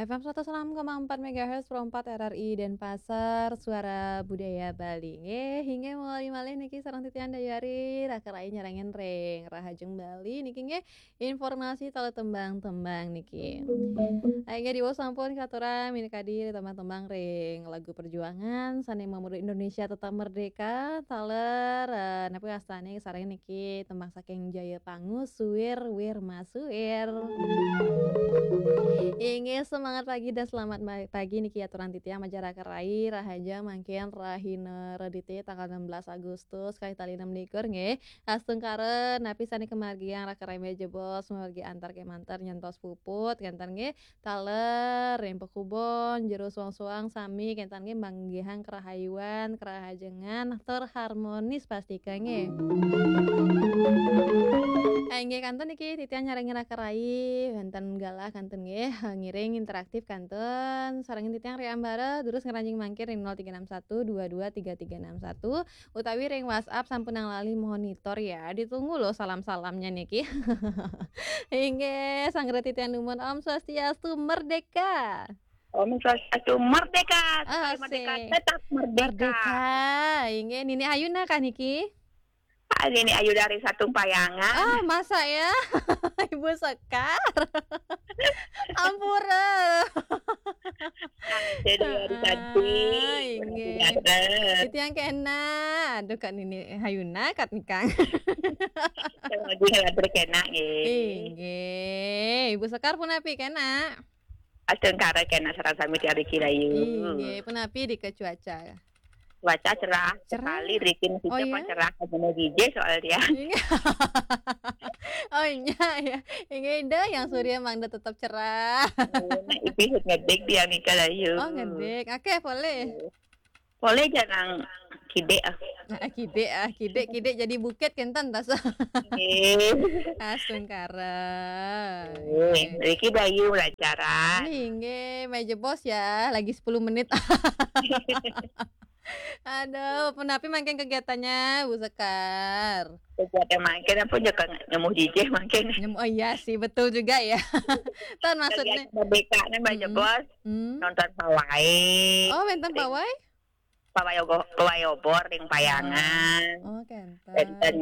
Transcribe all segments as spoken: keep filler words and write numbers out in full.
F M seratus enam koma empat megahertz, Pro empat R R I Denpasar, Suara Budaya Bali. Nggih, inggih mawali malih niki sareng titiang Dayari, raka rai nyarengin ring Rahajeng Bali niki nggih, informasi taler tembang-tembang niki. Inggih diwau sampun katurang minakadi tembang-tembang ring lagu perjuangan sane mamurda Indonesia tetap merdeka, taler, eh, napi wastane sareng niki tembang saking Jaya Pangu, Suwir Wir Masuwir. Inggih, semangat pagi dan selamat ma-, pagi niki aturang titiang majeng raka rai, rahajeng mangkin rahina Redite tanggal enam belas Agustus kalih tali enam likur nggih. Astungkara napi sane kamargiang raka rai malih jebos, mamargi antar kemanten nyantos puput kenten nggih. Taler ring pakubon, jero suang-suang sami kenten nggih manggihang kerahayuan, kerahajengan, tur harmonis pastika nggih. Ah, inggih kenten niki titiang nyarengin raka rai, wenten galah kenten nggih, ngiring interaktif kenten, sarengin titiang ring ambara, durus ngranjing mangkin ring nol tiga enam satu dua dua tiga tiga enam satu, utawi ring WhatsApp sampunang lali monitor ya. Ditunggu loh salam-salamnya niki. Inggih, sanggra titiang numun Om Swastiastu, merdeka. Om Swastiastu, merdeka. Sekali merdeka, asik, tetap merdeka. Merdeka. Inggih, Nini Ayuna kah niki? Ah, Nini Ayu dari Satung Payangan. Ah, masa ya? Ibu Sekar. Ampura. Jadi hari cantik. Ah, inggih. Titiang kena. Aduh, Kak Nini Ayuna, Kak Nikang. Lagi hadir kena, nggih. Inggih. Ibu Sekar punapi kena? Astungkara kena sareng sami Tiang Riki Rayu. Inggih, punapi dika cuaca? Cuaca cerah. Cerah? Sekali Riki mesti. Oh, iya? Cerah, kamu jijih soal dia. Inggih. Oh, iya, ya. Inggih, dah, yang Surya emang dah tetap cerah. Nah, itu ngedik dia nika Rayu. Oh, ngedik. Oke, boleh. Boleh jangan kidik ah. Ah, kidik ah, kidik, kidik jadi bukit kenten tas. Nggih. Astungkara. Nggih, nggih. Riki Bayu pelajaran. Nggih, nggih, malih jebos ya, lagi sepuluh menit. Aduh, punapi mangkin kegiatannya, Bu Sekar? Kegiatan mangkin apa je kan nyemu jijih mangkin. Nyemu, oh iya sih, betul juga ya. Tan maksudnya. Kegiatan merdeka kan malih jebos. Hmm. Nonton pawai. Oh, wenten pawai? Pawai ogo-, pawai obor ring Payangan. Oh, kenten. Kenten,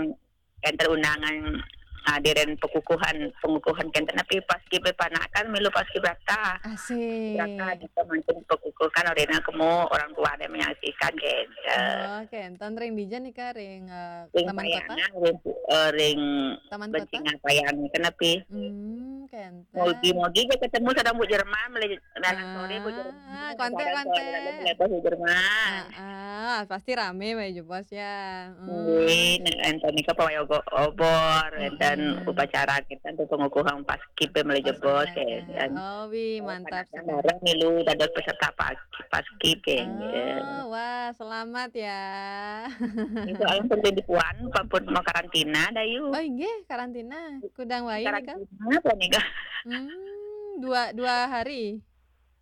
kenten undangan hadirin pekukuhan, pengukuhan kenten napi paskibraka, milu paskibraka. Asik. Paskibraka kita mangkin pekukuhan orina kemu orang tua ada menyaksikan kenten. Oh, kenten ring dija nika ring, eh, ring Taman Kota? Payangan, ring, eh, ring Taman Kota? Bencingan Payangan kenapi. Hmm, kenten. Mogi-mogi ja ketemu sareng Bu Jerman, malih anak sore Bu Jerman. Ah, kontak, kontak. Lepas Bu Jerman. Ah, ah, pasti rame malih jebos ya. Hmm. Nggih, enten nika pawai ogo-, obor, enten upacara kita untuk pengukuhan paskib malih jebos, kenten. Oh, wih, mantap sekali. Bareng milu dados peserta pas-, paskib, kenten. Oh, wah, selamat ya. Itu alam pendidikan, pampun mau karantina, Dayu. Oh, inggih, karantina. Kudang wai nika? Karantina apa nika? Hmm, dua, dua hari.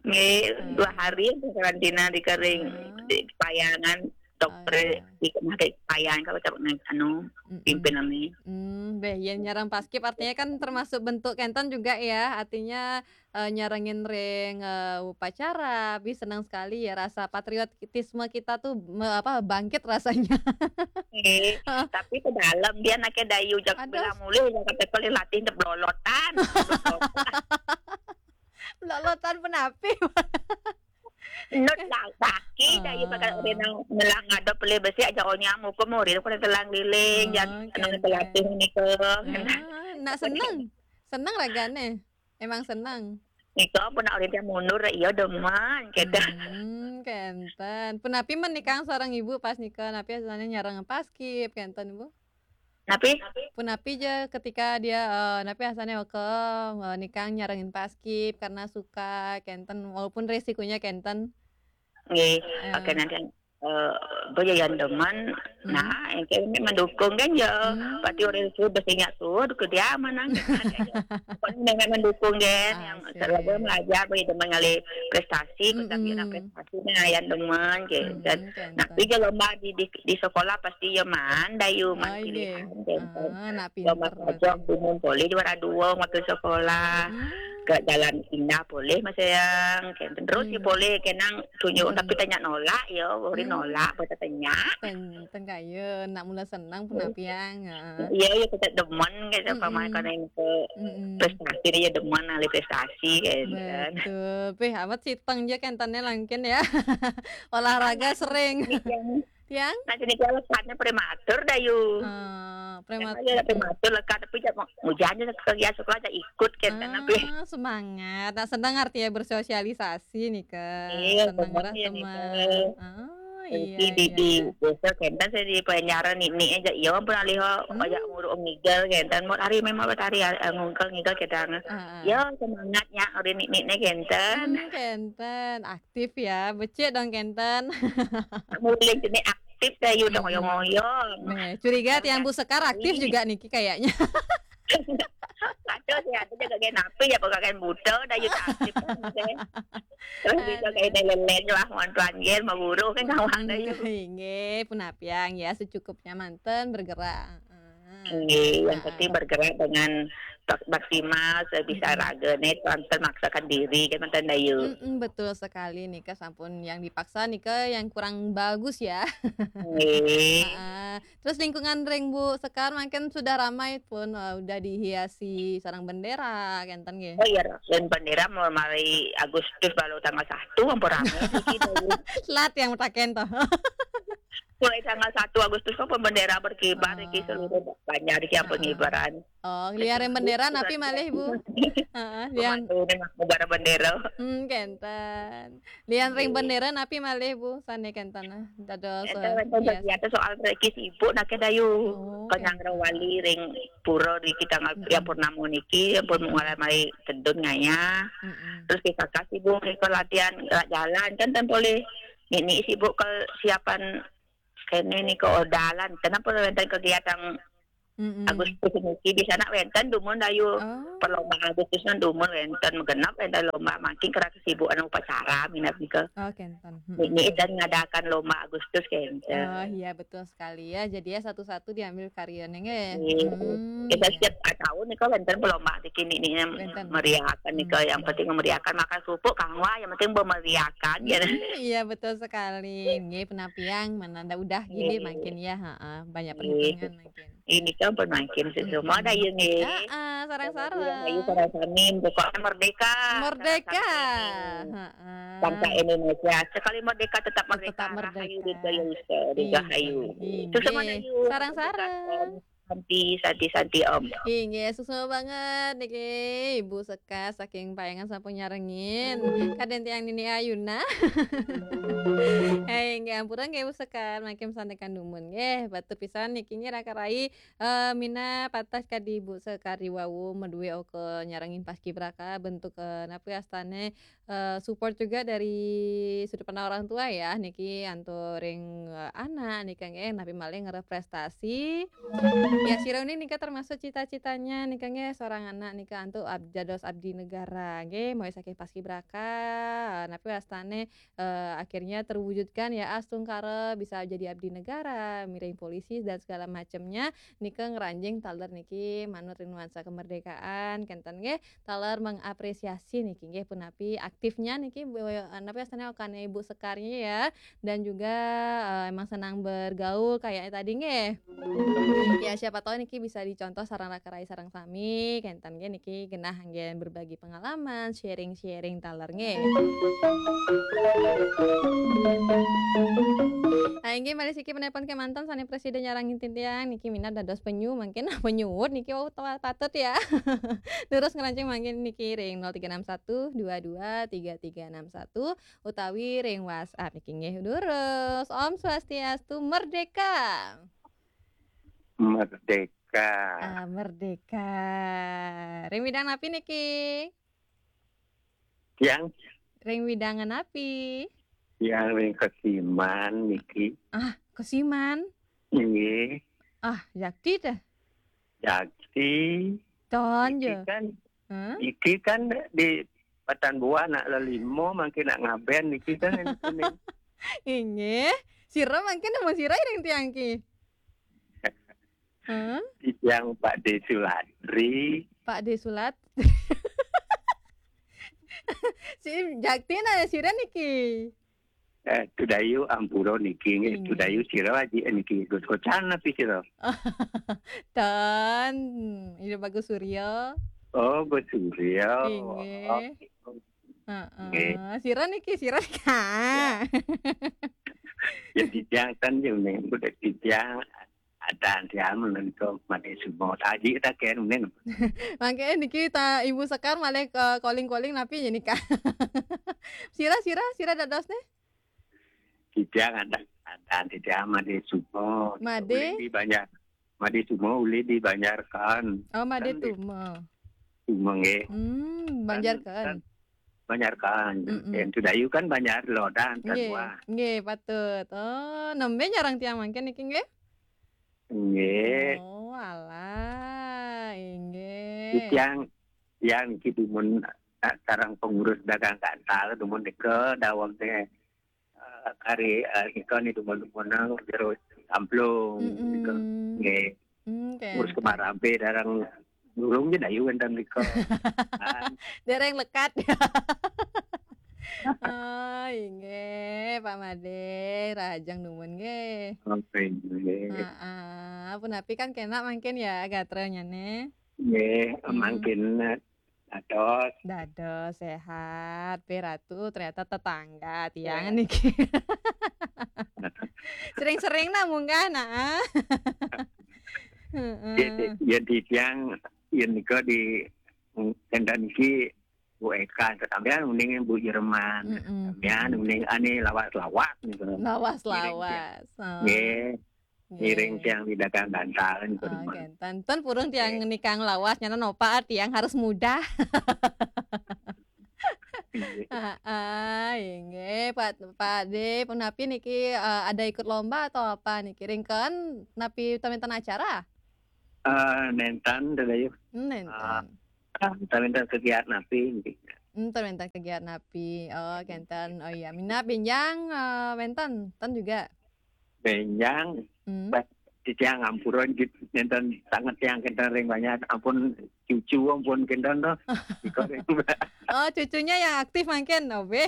Nggih, hmm, dua hari karantina di kering, hmm, di Payangan, dokter, oh, iya, di kemarin Payangan kalau tak anu, mm-mm, pimpin kami. Hmm, beh, yen nyareng paskib artinya kan termasuk bentuk kenten juga ya, artinya, eh, nyarengin ring, eh, upacara, bih senang sekali ya, rasa patriotisme kita tuh me-, apa, bangkit rasanya. Nggih, tapi ke dalam dia anaknya Dayu jak. Aduh. Bilang mulih, ya kata kali latih ndeblolotan. Lolotan punapi? Nut lah, kaki, dah, iya, bakal rena ngelang ngadep pelih besik aja, oh, nyamuk ke murid, aku telang liling, oh, jangan kenten. Pelatih ni ke. Ah, nak seneng? Seneng ragane? Emang seneng? Nika pun nak orang dia mundur, iya demen, gitu. Hmm, kenten. Punapi menikang seorang ibu pas nika, napi asalnya nyarang paskib, kenten, Bu? Napi? Punapi ja ketika dia, eh, napi asalnya ke, eh, nikang nyarengin paskib karena suka, kenten, walaupun resikonya kenten. Nggih, eh, oke, nanti, eh, boya yang demen, hmm, nah, yang kami mendukung kan ya. Hmm. Pati orang itu bersinyak tuh, ke dia mana? Pokoknya memang mendukung kan, yang, asik, selalu belajar, boya demen ngalih prestasi, mm-mm, tapi nak prestasi nah, yang demen, kenten. Mm-mm, kenten. Nah, tapi kalau lomba di, di, di sekolah pasti ya man, Dayu, oh, man, iya, pilihan, kenten. Ah, nak lomba pinter pajak berarti. Umum boleh juara dua waktu sekolah. Hmm. Ke jalan indah boleh, Mas Sayang. Kenten terus ya boleh, kenang tunjuk, tapi tanya nolak ya, boleh nolak, boleh tanya. Ten, ten kaya nak mula senang pun apiang. Ha. Iya, ya kita demen kayak apa, mai kan yang ke prestasi dia demen ahli prestasi kayak kan. Betul. Peh, amat siteng je kenten langkin ya. Olahraga sering. Tiang? Nah, jadi kalau saatnya prematur dah yuk. Ah, prematur. Prematur lekat, tapi jangan hujan aja ke sekolah aja ikut kan, tapi Ah, semangat. Nak senang artinya bersosialisasi nih ke. Iya, Senang senang lah ya nih, teman. Kak. Ah, Jadi iya. di, di Iya. Desa Kenten saya di Banjaran ini aja, iya pun alih aja muruk ngigel Kenten, mau hari memang buat hari ngungkel ngigel Kenten. Ah, ah. Ya semangatnya hari ini nih Kenten. Hmm, kenten aktif ya, becik dong kenten. Mulai jenis aktif saya udah ngoyo-ngoyo. Nah, curiga tiang Bu Sekar aktif juga niki kayaknya. Ada sih, ada juga kayak napi ya, bukan buta dah yuk aktif kan, Kenten. Terus bisa kayak lelen lah, mau tuan gel, mau guru kan kawan dah yuk. Inggih, pun apiang ya, secukupnya manten bergerak. Ah. Iya, yang penting bergerak dengan tok- maksimal sebisa raga nih, tuan termaksakan diri kan mantan dah yuk. Mm-mm, betul sekali nih Kak, sampun yang dipaksa nih Kak yang kurang bagus ya. Iya. Ah, terus lingkungan ring Bu Sekar makin sudah ramai pun, eh, udah dihiasi sarang bendera kenten nggih. Oh iya, dan bendera mulai Agustus baru tanggal satu, ampun rame iki dah yuk. Telat yang mutaken toh. Mulai tanggal satu Agustus kan bendera berkibar iki seluruh banyak iki yang pengibaran. Oh, liarin bendera napi malih Bu? Heeh, lian Pemantau nih, Mas, negara bendera. Hmm, kenten. Lian ring bendera napi malih Bu? Sane kenten ah. Dados Itu eh, kan hias. Ada soal iki sibuk nak dayu. Oh, Kenyang rawali ring pura di kita ngal yang purnama niki yang pun mulai mai tedun ngaya. Mm-mm. Terus kita kasih bu ke latihan gerak jalan kan tempo le. Ini sibuk kesiapan kene ni ke ordalan. Kenapa wonten kegiatan Mm-mm. Agustus niki di sana wonten dumun dayu. Oh. Perlombaan Agustus kan dumun wonten menggenap wonten lomba makin kerana kesibukan upacara minat nika. Oh, kenten. Mm-mm. Ini dan ngadakan lomba Agustus kenten. Oh iya, betul sekali ya. Jadi ya satu-satu diambil karyanya nggih. Iya. Hmm. Kita setiap tahun nih kan wonten perlombaan di kini nih yang Wonten. meriahkan nih, yang penting memeriahkan makan kerupuk kang wah, yang penting memeriahkan ya. Hmm, iya betul sekali. Nggih, penapiang mana ada udah gini Iya. makin ya, heeh, banyak Iya. perhitungan makin. Ini kan pun makin semua ada ya nih. Heeh, sarang-sarang. Ayo sarang sami, pokoknya merdeka. Merdeka. Sarang sami. Heeh. Bangsa Indonesia sekali merdeka tetap merdeka. Tetap merdeka. Rahayu Dirgahayu Ika. Dirgahayu. Inggih. Suksma dayu. Sarang-sarang. Santi, santi, santi om. Inggih, suksma banget niki Ibu Sekar saking Payangan sampun nyarengin. Kadén tiang Nini Ayuna. Hei, inggih ampura nggih Ibu Sekar, mangkin santekan dumun nggih. Batur pisan niki nggih raka rai eh, mina patah kadi Ibu Sekar wau medue oke nyarengin paskibraka bentuk eh, napi astane eh, support juga dari sudut pandang orang tua ya niki anto ring eh, anak nika nggih napi malih ngarep prestasi. Ya sira uning nika termasuk cita-citanya nika nggih seorang anak nika anto ab, dados abdi negara nggih mulai saking paskibraka napi wastane eh, akhirnya terwujudkan ya astungkara bisa jadi abdi negara, miring polisi dan segala macamnya nika ngranjing taler niki manut ring nuansa kemerdekaan kenten nggih. Taler mengapresiasi niki nggih punapi aktifnya niki Bu- eh, napi astane okane Ibu Sekarnya ya dan juga eh, emang senang bergaul kayak tadi nggih. Ya siapa tahu niki bisa dicontoh sarang raka rai sarang sami kenten nggih niki genah anggen berbagi pengalaman, sharing-sharing taler nggih. Nah, inggih malih siki penelpon kemanten sane presiden nyarengin titiang niki minat dados penyu mangkin penyuwut niki wau tawa patut ya. Terus ngerancing mangkin niki ring nol tiga enam satu dua dua tiga tiga enam satu utawi ring WhatsApp niki nggih. Terus Om Swastiastu, merdeka. Merdeka. Ah, merdeka. Ring bidang napi niki? Yang Ring bidang napi? Yang ring kesiman niki. Ah, kesiman. Nggih. Ah, jakti dah. Jadi Ton iki je. Kan Hah? Iki kan di Patan Buah nak lelimo mangkin nak ngaben niki kan. Inggih. Sira mangkin nama sira ring tiang ki? Hah? Yang Pak De Sulatri. Pak De Sulat. Si Jakti na sira niki. Eh, Tudayu ampura niki nggih. Inggih. Tudayu sira aji niki Gus Kocan napi sira? Ten, Ida Bagus Surya. Oh, Gus Surya. Inggih. Oh. Heeh. Nggih. Sira niki, sira niki. Ya. Ya, titiang ten ya, nih, budak titiang. Ada tiang menika Made Sumo. Aji ta ken nen. Mangke niki ta Ibu Sekar malih ke calling-calling napi ya nika. Sira, sira, sira dados nih? Titiang ada, ada titiang Made Sumo. Made? Ulih di Banjar. Made Sumo ulih di Banjar kan. Oh, Made Sumo. Sumo nggih. Hmm, Banjar kan. Banjar kan. Mm-mm. Yang Tudayu kan Banjar Lodan kan. Nggih, wah. Nggih, patut. Oh, nembe nyarang tiang mangke niki nggih? Nggih. Oh, alah, inggih. Tiang, tiang niki dumun, eh, sareng pengurus dagang gantal dumun nika daweg teh, eh, kari, eh, nika ni dumun-dumun nang jero Samplung nika. Mm-mm. Nggih. Hmm, ngurus kemarambe darang durung je dayu wenten nika. Dereng lekat. Oh, inggih, Pak Made, rahajeng dumun nggih. Oke, nggih. Heeh, punapi kan kenak mangkin ya gatranya nih. Nggih, hmm. Mangkin, eh, dados. Dados, sehat. Pe Ratu ternyata tetangga tiang niki. Sering-sering nah munggah nah. Heeh. Ya, ya, di tiang, ya nika di, mm, tenda niki Bu Eka, sampean mending Bu Jerman. Mm-mm. Sampean mending ane lawas-lawas nika. Lawas-lawas. Oh. Nggih. Ngiring tiang di dagang gantal niku. Oh, kenten. Ten purun tiang nikang lawas, nyana nopa tiang harus mudah. Heeh, inggih, Pak, Pak De, punapi niki, eh, ada ikut lomba atau apa niki? Ringken napi ten wenten acara? Eh, nenten, Dayu. Hmm, nenten. Eh, ten wenten kegiatan napi niki. Hmm, ten wenten kegiatan napi. Oh, kenten. Oh iya, minab benjang, eh, wenten, ten juga. Benjang, hmm. Bah, titiang ampura nggih, nenten sanget tiang kenten ring banyak. Ampun cucu, ampun kenten to. Iko ring. Oh, cucunya yang aktif mangkin, oh, be.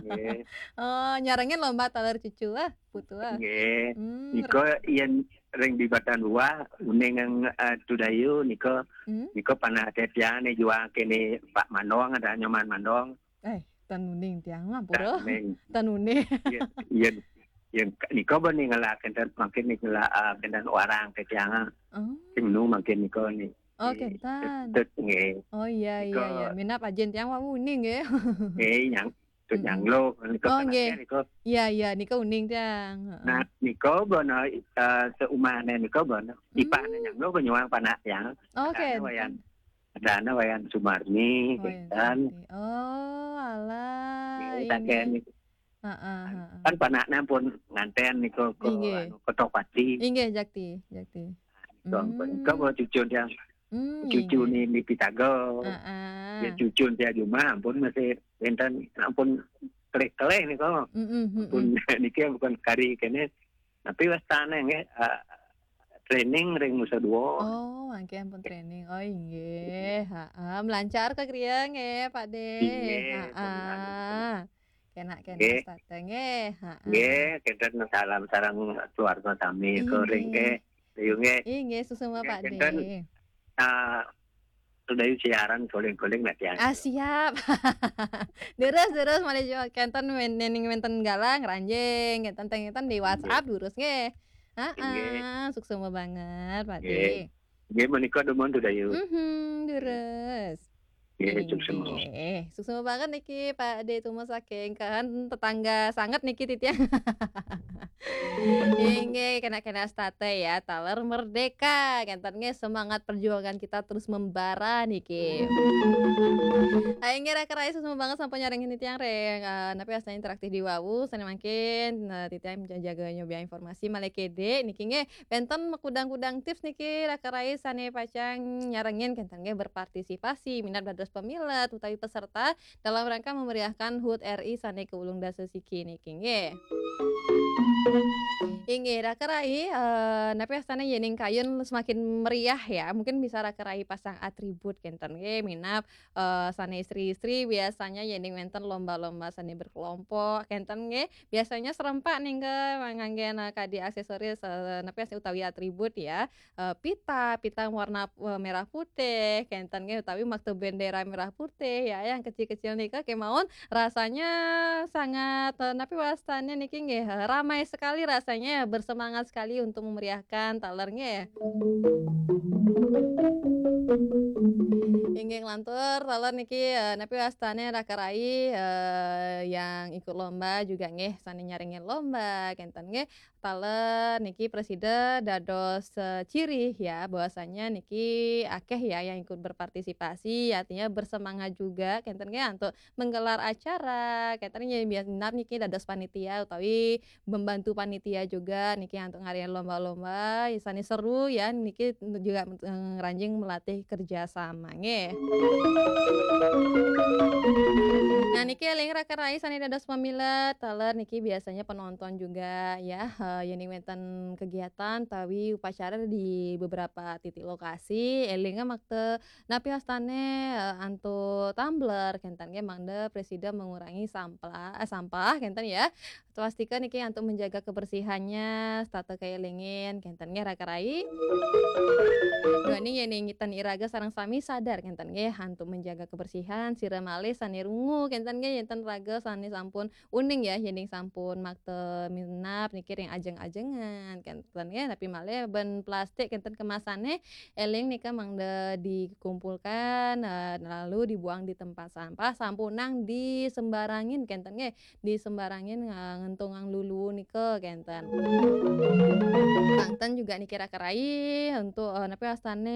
Nggih. Oh, nyarengin lomba taler cucu, ah, putu, ah. Nggih. Hmm. Iko yen ring bibatan buah, uning yang, eh, Tudayu, niko, hmm? Niko panah titiang nih juang kene Pak Mandong, ada Nyoman Mandong. Eh, ten uning tiang mah pura. Ten uning. Ten uning. Iya, iya. Yang nika bani ngelak kenten mangkin nih ngelak, ah, kenten orang ke tiang. Oh. Sing nu mangkin nika nih. Oh, kenten. Tut nggih. Oh iya, iya, iya. Minap ajin tiang wau uning nggih. Nggih, yang tut nyanglo nika. Oh, nggih. Iya, iya, nika uning tiang. Heeh. Nah, nika bana, eh, seumahne nika bana. Hmm. Ipahne nyanglo ke nyuang panak tiang. Oh, kenten. Adana Wayan Sumarni, oh, kenten. Oh, alah. Nggih, inggih. Heeh, heeh. Kan panaknya pun nganten niku ke, inggih, anu, Ketopati. Inggih, Jakti, Jakti. Nika, hmm, nika mau cucu dia. Hmm, cucu inggih. Ni, ni Pitago. Heeh. Ya cucu dia cuma ampun masih enten ampun kelih-kelih niku. Mm-mm, mm-mm. Ampun niki bukan kari kene. Tapi wastane nggih, eh, training ring Nusa Dua. Oh, mangke ampun training. Oh, inggih. Heeh, melancar ke griya nggih, Pak De. Inggih, heeh. Kena, kena, nggih. Start nggih. Heeh. Nggih, kenten salam sareng keluarga sami, inggih, ring nggih. Ayo nggih. Inggih, suksma, nggih, Pak De. Kenten, ah, Tudayu siaran guling-guling lah tiang. Ah, siap. Terus, terus malih juga kenten men-, nening wenten galang ranjing, kenten teng-, kenten di WhatsApp, inggih, terus nggih. Heeh, inggih. Suksma banget, Pak De. Nggih. Nggih, menika dumun Tudayu. Mhm, terus. Nggih, suksma. Inggih. Suksma banget niki, Pak De, tumo saking kan tetangga sanget niki titiang. Inggih, kena-kena state ya, taler merdeka. Kenten nggih semangat perjuangan kita terus membara niki. Ayo nggih, Raka Rais, suksma banget sampun nyarengin titiang ring, eh, napi wastane interaktif di wau, sane mangkin, eh, titiang jaga nyoba informasi malih kede niki nggih. Wenten makudang-kudang tips niki, Raka Rais, sane pacang nyarengin kenten nggih berpartisipasi minat dados pemilet utawi peserta dalam rangka memeriahkan hut R I sané kaulung dasa siki niki nggih. Inggih, raka rai, eh, napi astana yéning kayun semakin meriah ya. Mungkin bisa raka rai pasang atribut kénten nggih, minab, eh, sané istri-istri biasanya yéning wénten lomba-lomba sané berkelompok kénten nggih, biasanya serempak nggih nganggén, eh, kadi aksesoris, eh, napi utawi atribut ya. Eh, pita, pita warna, eh, merah putih, kénten nggih, utawi makta bendera merah putih, ya, yang kecil-kecil nika kémaon rasanya sangat, eh, napi wastané niki nggih, eh, ramai sekali rasanya, bersemangat sekali untuk memeriahkan taler nggih. Inggih lantur, taler niki, eh, napi wastané raka rai, eh, yang ikut lomba juga nggih, sané nyarengin lomba, kénten nggih. Taler niki prasida dados, eh, ciri ya, bahwasanya niki akeh ya yang ikut berpartisipasi, artinya bersemangat juga, kénten nggih, untuk menggelar acara, kénten nggih, biasa niki dados panitia utawi membantu panitia juga niki untuk ngadain lomba-lomba, sané seru ya, niki juga, eh, ngranjing melatih kerja sama nggih. Nah, niki éling raka rai sané dados pamilet, taler niki biasanya penonton juga ya, eh, yéning wénten kegiatan tawi upacara di beberapa titik lokasi, éling makta napi wastané, eh, antuk tumbler, kénten nggih mangda prasida mengurangi sampah, eh, sampah, kénten ya. Swastika niki antuk menjaga kebersihannya, setata kaélingin, kénten nggih raka rai. Duaning yéning ten iraga sareng sami sadar, kénten nggih, antuk menjaga kebersihan, sira malih sané rungu, kénten nggih, yénten raga sané sampun uning ya, yéning sampun makta minab niki ring ajeng-ajengan, kénten nggih, napi malih ban plastik kénten kemasané, éling nika mangda dikumpulkan, eh, lalu dibuang di tempat sampah, sampunang disembarangin, kénten nggih, disembarangin nga-, ngentungang lulu nika, kénten. Banten juga niki raka rai untuk, eh, napi wastané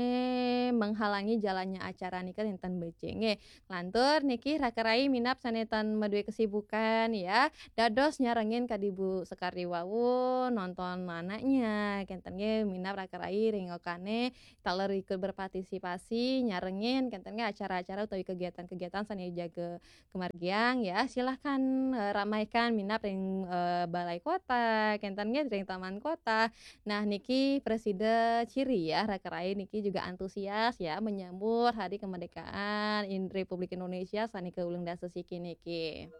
menghalangi jalannya acara nika nénten becik nggih. Lantur niki raka rai minab sané tan madué kesibukan ya. Dados nyarengin kadi Bu Sekardi wau nonton anaknya, kénten nggih minab raka rai ring okané taler ikut berpartisipasi nyarengin kénten nggih acara-acara utawi kegiatan-kegiatan sané jaga kemargiang ya. Silahkan, eh, ramaikan minab ring, eh, balai kota, kénten nggih ring taman kota. Nah, niki prasida ciri ya, raka rai niki juga antusias ya menyambut Hari Kemerdekaan in-, Republik Indonesia sané kaulung dasa siki niki.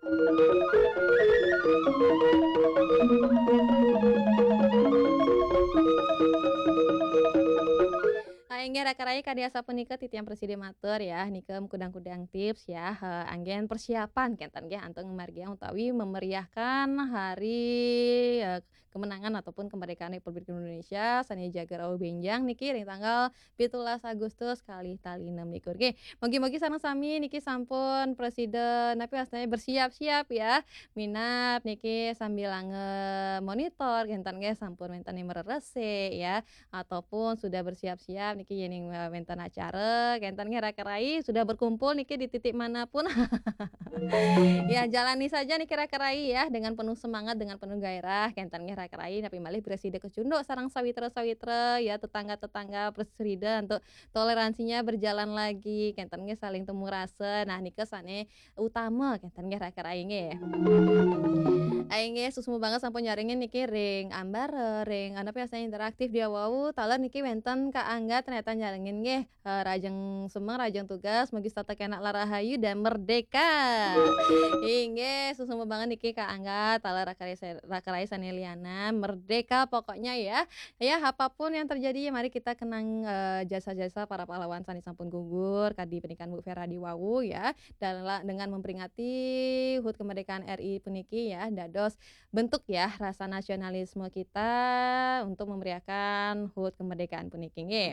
Ah, inggih raka rai kadi asapunika titiang prasida matur ya, nika kudang-kudang tips ya, eh, anggén persiapan kénten nggih antuk ngamargiang utawi memeriahkan hari, eh, kemenangan ataupun kemerdekaan Republik Indonesia sané jaga rauh bénjang niki ring tanggal pitulas Agustus kalih tali enam likur. Nggih, mugi-mugi sareng sami niki sampun prasida napi wastané bersiap-siap ya. Minab niki sambilanga monitor kénten nggih sampun wénten mareresik ya. Ataupun sudah bersiap-siap niki yéning, eh, wénten acara, kénten nggih raka rai sudah berkumpul niki di titik manapun. Ya, jalani saja niki raka rai ya dengan penuh semangat, dengan penuh gairah, kénten nggih raka rai napi malih prasida kecunduk sareng sawitra-sawitra ya, tetangga-tetangga prasida untuk toleransinya berjalan lagi, kénten nggih saling temu rasa. Nah, nika sané utama kénten nggih raka rai nggih. Ai nggih, suksma banget sampun nyarengin niki ring ambara, ring anu biasanya interaktif dia wau, taler niki wénten Kak Angga ternyata nyarengin nggih. Eh, rahajeng semeng, rahajeng tugas, mugi setata kenak lan rahayu dan merdeka. Inggih, suksma banget niki Kak Angga, taler raka rai sa-, raka rai sané lianan, merdeka pokoknya ya. Ya, apapun yang terjadi, ya mari kita kenang, eh, jasa-jasa para pahlawan sané sampun gugur, kadi pernikahan Bu Vera di wau ya. Dala-, dengan memperingati hut kemerdekaan R I puniki ya, dados bentuk ya rasa nasionalisme kita untuk memeriahkan hut kemerdekaan puniki nggih.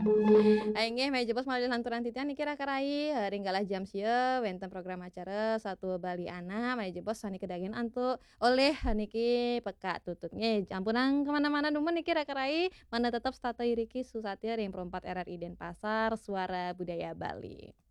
Ah, inggih, malih jebos malih lanturang titiang niki raka rai, eh, ring galah jam sia wénten program acara Satua Baliana, malih jebos sané kadagingin antuk olih niki pekak tutut nggih. Ampunang kemana-mana dumun niki raka rai, mangda tetep setata iriki susatia ring Pro empat R R I Denpasar, Suara Budaya Bali.